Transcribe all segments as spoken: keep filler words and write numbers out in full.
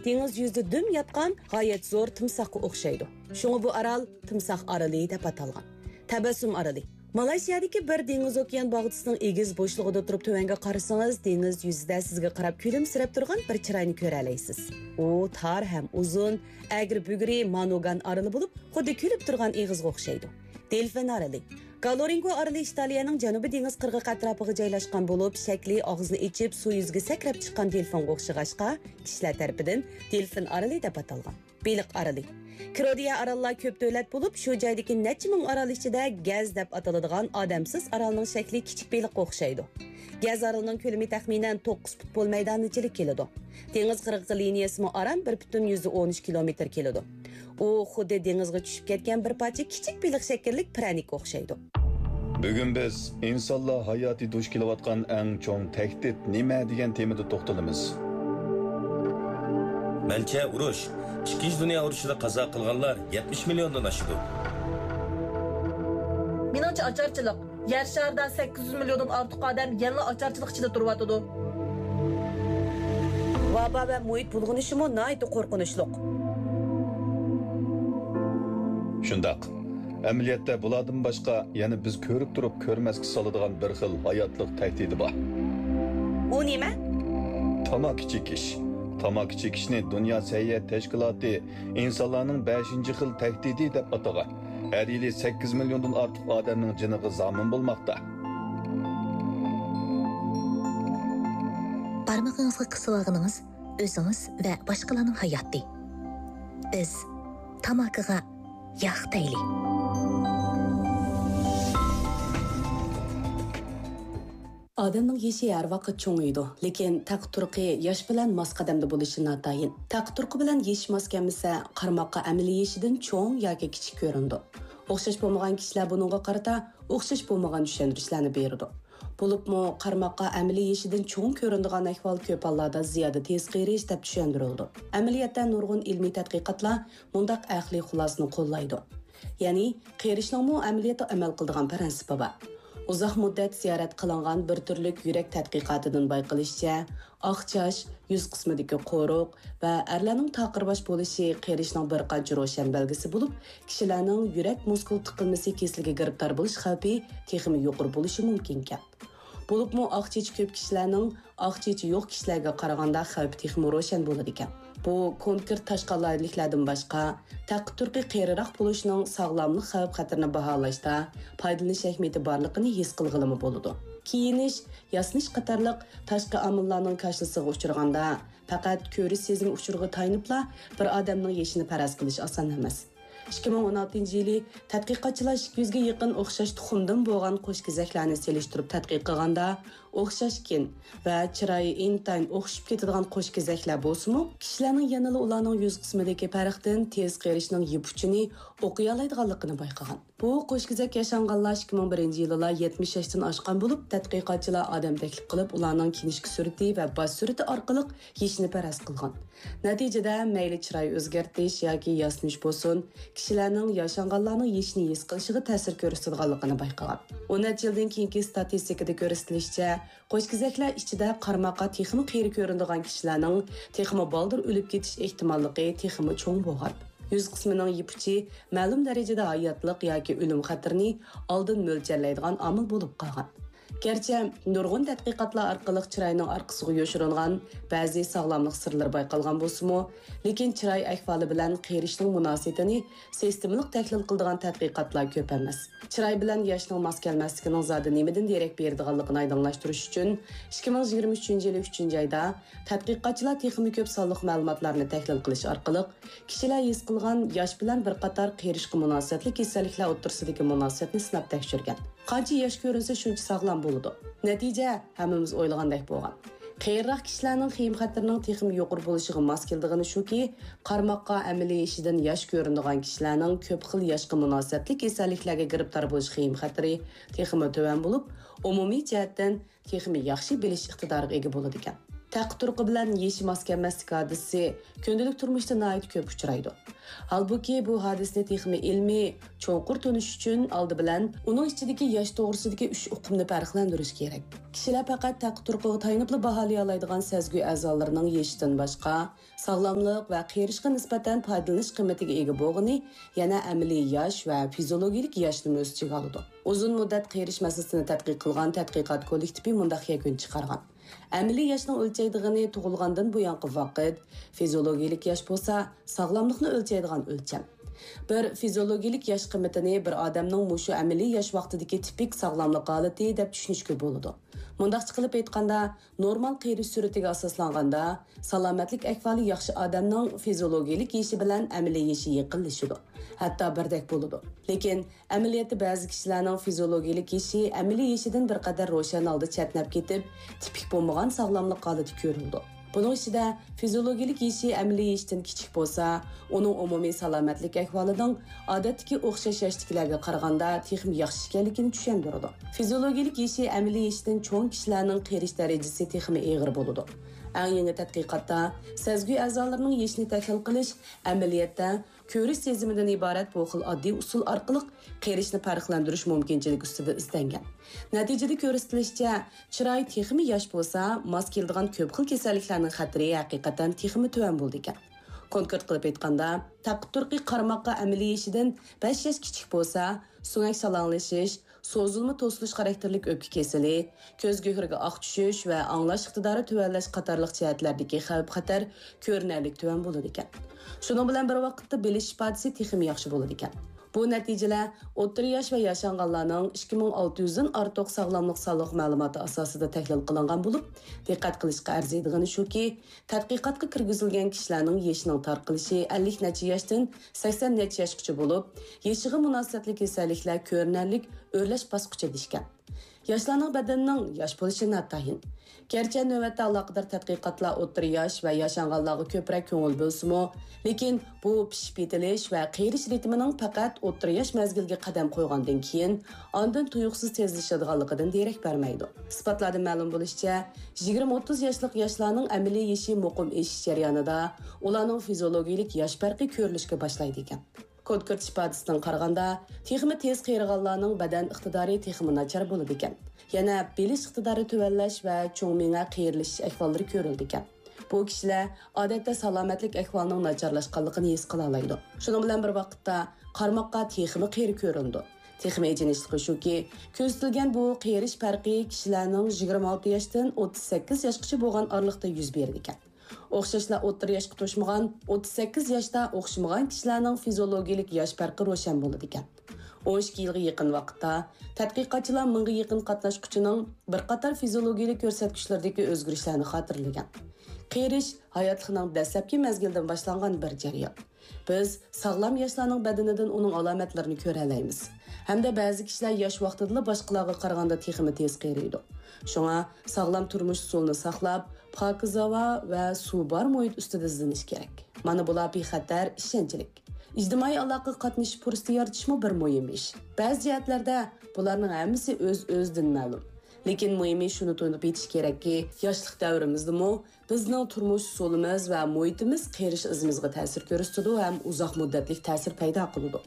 دېڭىز يۈزىدە دۈم ياتقان غايەت زور تىمساھقا ئوخشايدۇ. شۇڭا بۇ ئارال تىمساھ ئارىلى دەپ ئاتالغان. تەبەسسۇم ئارىلى. مالايشىيەدىكى بىر دېڭىز ئوكيان باغچىسىنىڭ ئېگىز بوشلۇقىدا تۇرۇپ تۆۋەنگە قارىسىڭىز، دېڭىز يۈزىدە سىزگە قاراپ كۈلۈمسىرەپ تۇرغان بىر چىراينى كۆرەلەيسىز. ئۇ تار ھەم ئۇزۇن، ئەگرى-بۈگرى مانوگان ئارىلى بولۇپ، خۇددى كۈلۈپ تۇرغان ئېغىزغا ئوخشايدۇ. دېلفىن ئارىلى. گالورىنگو ئارىلى ئىتالىيەنىڭ جەنۇبىي دېڭىز قىرغىقى ئەتراپىغا جايلاشقان بولۇپ، شەكلى ئاغزىنى ئېچىپ، سۇ يۈزىگە سەكرەپ چىققان دېلفىنغا ئوخشىغاچقا، كىشىلەر تەرىپىدىن دېلفىن ئارىلى دەپ ئاتالغان. بېلىق ئارىلى. كرودىيە ئاراللار كۆپ دۆلەت بولۇپ، شۇ جايدىكى نەچچە مىڭ ئارال ئىچىدە گەز دەپ ئاتىلىدىغان ئادەمسىز ئارالنىڭ شەكلى كىچىك بېلىققا ئوخشايدۇ. گەز ئارىلىنىڭ كۆلىمى تەخمىنەن توققۇز پۇت بول مەيدانىچىلىك كېلىدۇ. دېڭىز قىرغىقى لىنىيەسىمۇ ئاران بىر پۈتۈن يۈزدە ئون ئۈچ كىلومېتىر كېلىدۇ. ئۇ خۇددى دېڭىزغا چۈشۈپ كەتكەن بىر پارچە كىچىك بېلىق شەكىللىك پىرەنىككە ئوخشايدۇ. بۈگۈن بىز ئىنسانلار ھاياتى دۇچ كېلىۋاتقان ئەڭ چوڭ تەھدىت نېمە دېگەن تېمىدا توختىلىمىز. مەنچە، ئۇرۇش. ئىككىنچى دۇنيا ئۇرۇشىدا قازا قىلغانلار يەتمىش مىليوندىن ئاشىدۇ. مېنىڭچە، ئاچارچىلىق. يەر شارىدا سەككىز يۈز مىليوندىن ئارتۇق ئادەم يەنىلا ئاچارچىلىق ئىچىدە تۇرۇۋاتىدۇ. ۋابا ۋە مۇھىت بۇلغىنىشىمۇ ناھايىتى قورقۇنچلۇق. شۇنداق. ئەمەلىيەتتە بۇلاردىن باشقا يەنە بىز كۆرۈپ تۇرۇپ كۆرمەسكە سالىدىغان بىر خىل ھاياتلىق تەھدىتى بار. ئۇ نېمە؟ تاماكا چېكىش. تاماكا چېكىشنى دۇنيا سەھىيە تەشكىلاتى ئىنسانلارنىڭ بەشىنچى خىل تەھدىتى دەپ ئاتىغان. ھەر يىلى سەككىز مىليوندىن ئارتۇق ئادەمنىڭ جېنىغا زامىن بولماقتا. بارمىقىڭىزغا قىسىۋالغىنىڭىز ئۆزىڭىز ۋە باشقىلارنىڭ ھاياتى. بىز تاماكىغا ياق دەيلى. ئادەمنىڭ يېشى ھەر ۋاقىت چوڭىيىدۇ، لېكىن تەقى تۇرقى ياش بىلەن ماس قەدەمدە بولۇشى ناتايىن. تەقى تۇرقى بىلەن يېشى ماس كەلمىسە، قارىماققا ئەمەلىي يېشىدىن چوڭ ياكى كىچىك كۆرۈنىدۇ. ئوخشاش بولمىغان كىشىلەر بۇنىڭغا قارىتا ئوخشاش بولمىغان چۈشەندۈرۈشلەرنى بېرىدۇ. بولۇپمۇ قارىماققا ئەمەلىي يېشىدىن چوڭ كۆرۈنىدىغان ئەھۋال كۆپ ھاللاردا زىيادە تېز قېرىش دەپ چۈشەندۈرۈلىدۇ. ئەمەلىيەتتە نۇرغۇن ئىلمىي تەتقىقاتلار مۇنداق ئەقلىي خۇلاسىنى قوللايدۇ. يەنى قېرىشنىڭمۇ ئەمەلىيەتتە ئەمەل قىلىدىغان پىرىنسىپى بار. ئۇزاق مۇددەت زىيارەت قىلىنغان بىر تۈرلۈك يۈرەك تەتقىقاتىدىن بايقىلىشىچە، ئاق چاچ، يۈز قىسمىدىكى قورۇق ۋە ئەرلەرنىڭ تاقىر باش بولۇشى قېرىشنىڭ بىر قانچە روشەن بەلگىسى بولۇپ، كىشىلەرنىڭ يۈرەك مۇسكۇل تىقىلمىسى كېسىلىگە گىرىپتار بولۇش خەۋپى تېخىمۇ يۇقىرى بولۇشى مۇمكىنكەن. بولۇپمۇ ئاق چېچى كۆپ كىشىلەرنىڭ ئاق چېچى يوق كىشىلەرگە قارىغاندا خەۋپى تېخىمۇ روشەن بولىدىكەن. بۇ كونكرېت تاشقى ئالاھىدىلىكلەردىن باشقا، تەقى تۇرقى قېرىراق بولۇشنىڭ ساغلاملىق خەۋپ خەتىرىنى باھالاشتا پايدىلىنىش ئەھمىيىتى بارلىقىنى ھېس قىلغىلىمۇ بولىدۇ. كىيىنىش، ياسىنىش قاتارلىق تاشقى ئامىللارنىڭ كاشىلىسىغا ئۇچرىغاندا، پەقەت كۆرۈش سېزىمى ئۇچۇرىغا تايىنىپلا بىر ئادەمنىڭ يېشىنى پەرەز قىلىش ئاسان ئەمەس. ئىككى مىڭ ئون ئالتىنچى يىلى تەتقىقاتچىلار ئىككى يۈزگە يېقىن ئوخشاش تۇخۇمدىن بولغان قوش كېزەكلەرنى سېلىشتۇرۇپ تەتقىق قىلغاندا، ئوخشاش گېن ۋە چىرايى ئىنتايىن ئوخشىشىپ كېتىدىغان قوش كېزەكلەر بولسىمۇ، كىشىلەرنىڭ يەنىلا ئۇلارنىڭ يۈز قىسمىدىكى پەرقتىن تېز قېرىشنىڭ يىپ ئۇچىنى ئوقۇيالايدىغانلىقىنى بايقىغان. بۇ قوش كېزەك ياشانغانلار ئىككى مىڭ بىرىنچى يىلىلا يەتمىش ياشتىن ئاشقان بولۇپ، تەتقىقاتچىلار ئادەم تەكلىپ قىلىپ، ئۇلارنىڭ كىنىشكا سۈرىتى ۋە باش سۈرىتى ئارقىلىق يېشىنى پەرەز قىلغان. نەتىجىدە، مەيلى چىراي ئۆزگەرتىش ياكى ياسىنىش بولسۇن، كىشىلەرنىڭ ياشانغانلارنىڭ يېشىنى ھېس قىلىشىغا تەسىر كۆرسىتىدىغانلىقىنى بايقىغان. ئون نەچچە يىلدىن كېيىنكى ستاتىستىكىدا كۆرسىتىلىشىچە، قوش كېزەكلەر ئىچىدە قارىماققا تېخىمۇ قېرى كۆرۈنىدىغان كىشىلەرنىڭ تېخىمۇ بالدۇر ئۆلۈپ كېتىش ئېھتىماللىقى تېخىمۇ چوڭ بولغان. يۈز قىسمىنىڭ يىپ ئۇچى مەلۇم دەرىجىدە ھاياتلىق ياكى ئۆلۈم خەتىرىنى ئالدىن مۆلچەرلەيدىغان ئامىل بولۇپ قالغان. گەرچە نۇرغۇن تەتقىقاتلار ئارقىلىق چىراينىڭ ئارقىسىغا يوشۇرۇنغان بەزى ساغلاملىق سىرلىرى بايقالغان بولسىمۇ، لېكىن چىراي ئەھۋالى بىلەن قېرىشنىڭ مۇناسىۋىتىنى سىستېمىلىق تەھلىل قىلىدىغان تەتقىقاتلار كۆپ ئەمەس. چىراي بىلەن ياشنىڭ ماس كەلمەسلىكىنىڭ زادى نېمىدىن دېرەك بېرىدىغانلىقىنى ئايدىڭلاشتۇرۇش ئۈچۈن، ئىككى مىڭ يىگىرمە ئۈچىنچى يىلى ئۈچىنچى ئايدا تەتقىقاتچىلار تېخىمۇ كۆپ سانلىق مەلۇماتلارنى تەھلىل قىلىش ئارقىلىق، كىشىلەر ھېس قىلغان ياش بىلەن بىر قاتار قېرىشقا مۇناسىۋەتلىك كېسەللىكلەر ئوتتۇرىسىدىكى مۇناسىۋەتنى سىناپ تەكشۈرگەن. قانچە ياش كۆرۈنسە، شۇنچە ساغلام بولىدۇ. نەتىجە ھەممىمىز ئويلىغاندەك بولغان. قېرىراق كىشىلەرنىڭ خېيىم خەتىرىنىڭ تېخىمۇ يۇقىرى بولۇشىغا ماس كېلىدىغىنى شۇكى، قارىماققا ئەمەلىي يېشىدىن ياش كۆرۈنىدىغان كىشىلەرنىڭ كۆپ خىل ياشقا مۇناسىۋەتلىك كېسەللىكلەرگە گىرىپتار بولۇش خېيىم خەتىرى تېخىمۇ تۆۋەن بولۇپ، ئومۇمىي جەھەتتىن تېخىمۇ ياخشى بىلىش ئىقتىدارىغا ئىگە بولىدىكەن. تەقى تۇرقى بىلەن يېشى ماس كەلمەسلىك ھادىسىسى كۈندىلىك تۇرمۇشتا ناھايىتى كۆپ ئۇچرايدۇ. ھالبۇكى، بۇ ھادىسىنى تېخىمۇ ئىلمىي، چوڭقۇر تونۇش ئۈچۈن، ئالدى بىلەن ئۇنىڭ ئىچىدىكى ياش توغرىسىدىكى ئۈچ ئۇقۇمنى پەرقلەندۈرۈش كېرەك. كىشىلەر پەقەت تەقى تۇرقىغا تايىنىپلا باھالىيالايدىغان سەزگۈ ئەزالىرىنىڭ يېشىدىن باشقا، ساغلاملىق ۋە قېرىشقا نىسبەتەن پايدىلىنىش قىممىتىگە ئىگە بولغىنى يەنە ئەمەلىي ياش ۋە فىزىولوگىيىلىك ياشنىمۇ ئۆز ئىچىگە ئالىدۇ. ئۇزۇن مۇددەت قېرىش مەسىلىسىنى تەتقىق قىلغان تەتقىقات كوللېكتىپى مۇنداق يەكۈن چىقارغان: ئەمەلىي ياشنىڭ ئۆلچەيدىغىنى تۇغۇلغاندىن بۇيانقى ۋاقىت، فىزىولوگىيىلىك ياش بولسا ساغلاملىقنى ئۆلچەيدىغان ئۆلچەم. بىر فىزىولوگىيىلىك ياش قىممىتىنى بىر ئادەمنىڭ مۇشۇ ئەمەلىي ياش ۋاقتىدىكى تىپىك ساغلاملىق ھالىتى دەپ چۈشىنىشكە بولىدۇ. مۇنداقچە قىلىپ ئېيتقاندا، نورمال قېرىش سۈرئىتىگە ئاساسلانغاندا، سالامەتلىك ئەھۋالى ياخشى ئادەمنىڭ فىزىولوگىيىلىك يېشى بىلەن ئەمەلىي يېشى يېقىنلىشىدۇ، ھەتتا بىردەك بولىدۇ. لېكىن ئەمەلىيەتتە بەزى كىشىلەرنىڭ فىزىولوگىيىلىك يېشى ئەمەلىي يېشىدىن بىر قەدەر روشەن ھالدا چەتنەپ كېتىپ، تىپىك بولمىغان ساغلاملىق ھالىتى كۆرۈلىدۇ. بۇنىڭ ئىچىدە فىزىولوگىيىلىك يېشى ئەمەلىي يېشىدىن كىچىك بولسا، ئۇنىڭ ئومۇمىي سالامەتلىك ئەھۋالىنىڭ ئادەتتىكى ئوخشاش ياشتىكىلەرگە قارىغاندا تېخىمۇ ياخشى ئىكەنلىكىنى چۈشەندۈرىدۇ. فىزىولوگىيىلىك يېشى ئەمەلىي يېشىدىن چوڭ كىشىلەرنىڭ قېرىش دەرىجىسى تېخىمۇ ئېغىر بولىدۇ. ئەڭ يېڭى تەتقىقاتتا سەزگۈ ئەزالىرىنىڭ يېشىنى تەھلىل قىلىش ئەمەلىيەتتە كۆرۈش سېزىمىدىن ئىبارەت بۇ خىل ئاددىي ئۇسۇل ئارقىلىق قېرىشنى پەرقلەندۈرۈش مۇمكىنچىلىكى ئۈستىدە ئىزدەنگەن. نەتىجىدە كۆرسىتىلىشىچە، چىراي تېخىمۇ ياش بولسا، ماس كېلىدىغان كۆپ خىل كېسەللىكلەرنىڭ خەتىرى ھەقىقەتەن تېخىمۇ تۆۋەن بولىدىكەن. كونكرېت قىلىپ ئېيتقاندا، تەققە تۇرقى قارىماققا ئەمەلىي يېشىدىن بەش ياش كىچىك بولسا، سۆڭەك شالاڭلىشىش، سوزۇلما توسۇلۇش خاراكتېرلىك ئۆپكە كېسىلى، كۆز گۆھىرىگە ئاق چۈشۈش ۋە ئاڭلاش ئىقتىدارى تۆۋەنلەش قاتارلىق جەھەتلەردىكى خەۋپ-خەتەر كۆرۈنەرلىك تۆۋەن بولىدىكەن. شۇنىڭ بىلەن بىر ۋاقىتتا بىلىش ئىپادىسى تېخىمۇ ياخشى بولىدىكەن. بۇ نەتىجىلەر ئوتتۇرا ياش ۋە ياشانغانلارنىڭ ئىككى مىڭ ئالتە يۈزدىن ئارتۇق ساغلاملىق سانلىق مەلۇماتى ئاساسىدا تەھلىل قىلىنغان بولۇپ، دىققەت قىلىشقا ئەرزىيدىغىنى شۇكى، تەتقىقاتقا كىرگۈزۈلگەن كىشىلەرنىڭ يېشىنىڭ تارقىلىشى ئەللىك نەچچە ياشتىن سەكسەن نەچچە ياشقىچە بولۇپ، يېشىغا مۇناسىۋەتلىك كېسەللىكلەر كۆرۈنەرلىك ئۆرلەش باسقۇچىدا ئىكەن. ياشلارنىڭ بەدىنىنىڭ ياش بولۇشى ناتايىن. گەرچە نۆۋەتتە ئالاقىدار تەتقىقاتلار ئوتتۇرا ياش ۋە ياشانغانلارغا كۆپرەك كۆڭۈل بۆلسىمۇ، لېكىن بۇ پىشىپ يېتىلىش ۋە قېرىش رىتىمىنىڭ پەقەت ئوتتۇرا ياش مەزگىلگە قەدەم قويغاندىن كېيىن ئاندىن تۇيۇقسىز تېزلىشىدىغانلىقىدىن دېرەك بەرمەيدۇ. ئىسپاتلاردىن مەلۇم بولۇشىچە، يىگىرمە ئوتتۇز ياشلىق ياشلارنىڭ ئەمەلىي يېشى مۇقىم ئېشىش جەريانىدا ئۇلارنىڭ فىزىولوگىيىلىك ياش پەرقى كۆرۈلۈشكە باشلايدىكەن. كونكرېت ئىپادىسىدىن قارىغاندا، تېخىمۇ تېز قېرىغانلارنىڭ بەدەن ئىقتىدارى تېخىمۇ ناچار بولىدىكەن. يەنە بىلىش ئىقتىدارى تۆۋەنلەش ۋە چوڭ مېڭە قېرىلىشىش ئەھۋاللىرى كۆرۈلىدىكەن. بۇ كىشىلەر ئادەتتە سالامەتلىك ئەھۋالىنىڭ ناچارلاشقانلىقىنى ھېس قىلالايدۇ. شۇنىڭ بىلەن بىر ۋاقىتتا، قارىماققا تېخىمۇ قېرى كۆرۈنىدۇ. تېخىمۇ ئېچىنىشلىقى شۇكى، كۆزىتىلگەن بۇ قېرىش پەرقى كىشىلەرنىڭ يىگىرمە ئالتە ياشتىن ئوتتۇز سەككىز ياشقىچە بولغان ئارىلىقتا يۈز بېرىدىكەن. ئوخشاشلا ئوتتۇرا ياشقا توشمىغان، ئوتتۇز سەككىز ياشتا ئوخشىمىغان كىشىلەرنىڭ فىزىولوگىيىلىك ياش پەرقى روشەن بولىدىكەن. ئون ئىككى يىلغا يېقىن ۋاقىتتا تەتقىقاتچىلار مىڭغا يېقىن قاتناشقۇچىنىڭ بىر قاتار فىزىولوگىيىلىك كۆرسەتكۈچلىرىدىكى ئۆزگىرىشلەرنى خاتىرىلىگەن. قېرىش ھاياتلىقنىڭ دەسلەپكى مەزگىلىدىن باشلانغان بىر جەريان. بىز ساغلام ياشلارنىڭ بەدىنىدىن ئۇنىڭ ئالامەتلىرىنى كۆرەلەيمىز. ھەمدە بەزى كىشىلەر ياش ۋاقتىدىلا باشقىلارغا قارىغاندا تېخىمۇ تېز قېرىيدۇ. شۇڭا ساغلام تۇرمۇش ئۇسۇلىنى ساقلاپ، پاكىز ھاۋا ۋە سۇ بار مۇھىت ئۈستىدە ئىزدىنىش كېرەك. مانا بۇلار بىخەتەر، ئىشەنچلىك. ئىجتىمائىي ئالاقىگە قاتنىشىش پۇرسىتى يارىتىشمۇ بىر مۇھىم ئىش. بەزى جەھەتلەردە بۇلارنىڭ ھەممىسى ئۆز-ئۆزىدىن مەلۇم. لېكىن مۇھىمى شۇنى تونۇپ يېتىش كېرەككى، ياشلىق دەۋرىمىزدىمۇ بىزنىڭ تۇرمۇش ئۇسۇلىمىز ۋە مۇھىتىمىز قېرىش ئىزىمىزغا تەسىر كۆرسىتىدۇ ھەم ئۇزاق مۇددەتلىك تەسىر پەيدا قىلىدۇ.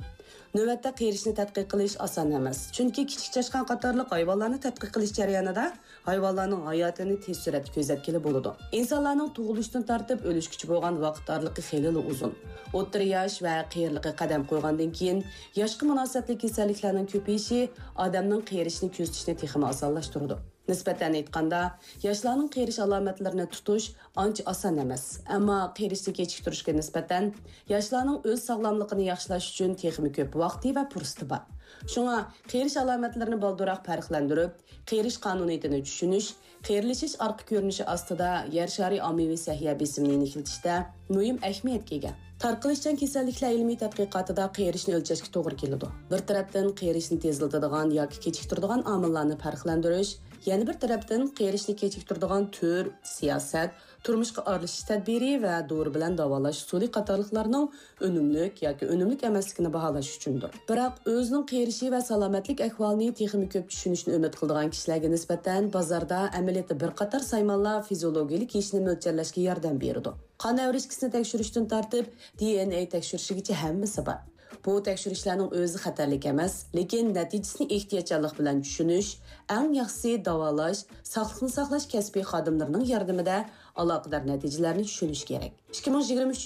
نۆۋەتتە قېرىشنى تەتقىق قىلىش ئاسان ئەمەس، چۈنكى كىچىك چاشقان قاتارلىق ھايۋانلارنى تەتقىق قىلىش جەريانىدا ھايۋانلارنىڭ ھاياتىنى تېز سۈرئەتتە كۆزەتكىلى بولىدۇ. ئىنسانلارنىڭ تۇغۇلۇشتىن تارتىپ ئۆلۈشكىچە بولغان ۋاقىت ئارىلىقى خېلىلا ئۇزۇن. ئوتتۇرا ياش ۋە قېرىلىققا قەدەم قويغاندىن كېيىن، ياشقا مۇناسىۋەتلىك كېسەللىكلەرنىڭ كۆپىيىشى ئادەمنىڭ قېرىشنى كۆزىتىشنى تېخىمۇ ئاسانلاشتۇرىدۇ. نىسبەتەن ئېيتقاندا، ياشلارنىڭ قېرىش ئالامەتلىرىنى تۇتۇش ئانچە ئاسان ئەمەس. ئەمما قېرىشنى كېچىكتۈرۈشكە نىسبەتەن ياشلارنىڭ ئۆز ساغلاملىقىنى ياخشىلاش ئۈچۈن تېخىمۇ كۆپ ۋاقتى ۋە پۇرسىتى بار. شۇڭا قېرىش ئالامەتلىرىنى بالدۇرراق پەرقلەندۈرۈپ، قېرىش قانۇنىيىتىنى چۈشىنىش، قېرىلىشىش ئارقا كۆرۈنۈشى ئاستىدا يەر شارى ئاممىۋى سەھىيە بېسىمىنى يېنىكلىتىشتە مۇھىم ئەھمىيەتكە ئىگە. تارقىلىشچان كېسەللىكلەر ئىلمىي تەتقىقاتىدا قېرىشنى ئۆلچەشكە توغرا كېلىدۇ. بىر تەرەپتىن قېرىشنى تېزلىتىدىغان ياكى كېچىكتۈرىدىغان ئامىللارنى پەرقلەندۈرۈش، يەنە بىر تەرەپتىن قېرىشنى كېچىكتۈرىدىغان تۈر، سىياسەت، تۇرمۇشقا ئارىلىشىش تەدبىرى ۋە دورا بىلەن داۋالاش ئۇسۇلى قاتارلىقلارنىڭ ئۈنۈملۈك ياكى ئۈنۈملۈك ئەمەسلىكىنى باھالاش ئۈچۈندۇر. بىراق ئۆزىنىڭ قېرىشى ۋە سالامەتلىك ئەھۋالىنى تېخىمۇ كۆپ چۈشىنىشنى ئۈمىد قىلىدىغان كىشىلەرگە نىسبەتەن بازاردا ئەمەلىيەتتە بىر قاتار سايمانلار فىزىئولوگىيەلىك يېشىنى مۆلچەرلەشكە ياردەم بېرىدۇ. قان ئەۋرىشكىسىنى تەكشۈرۈشتىن تارتىپ، دى ئېن ئەي تەكشۈرۈشىگىچە ھەممىسى بار. بۇ تەكشۈرۈشلەرنىڭ ئۆزى خەتەرلىك ئەمەس، لېكىن نەتىجىسىنى ئېھتىياتچانلىق بىلەن چۈشىنىش، ئەڭ ياخشىسى داۋالاش، ساقلىقنى ساقلاش كەسپىي خادىملىرىنىڭ ياردىمىدە ئالاقىدار نەتىجىلەرنى چۈشىنىش كېرەك. ئىككى مىڭ يىگىرمە ئۈچىنچى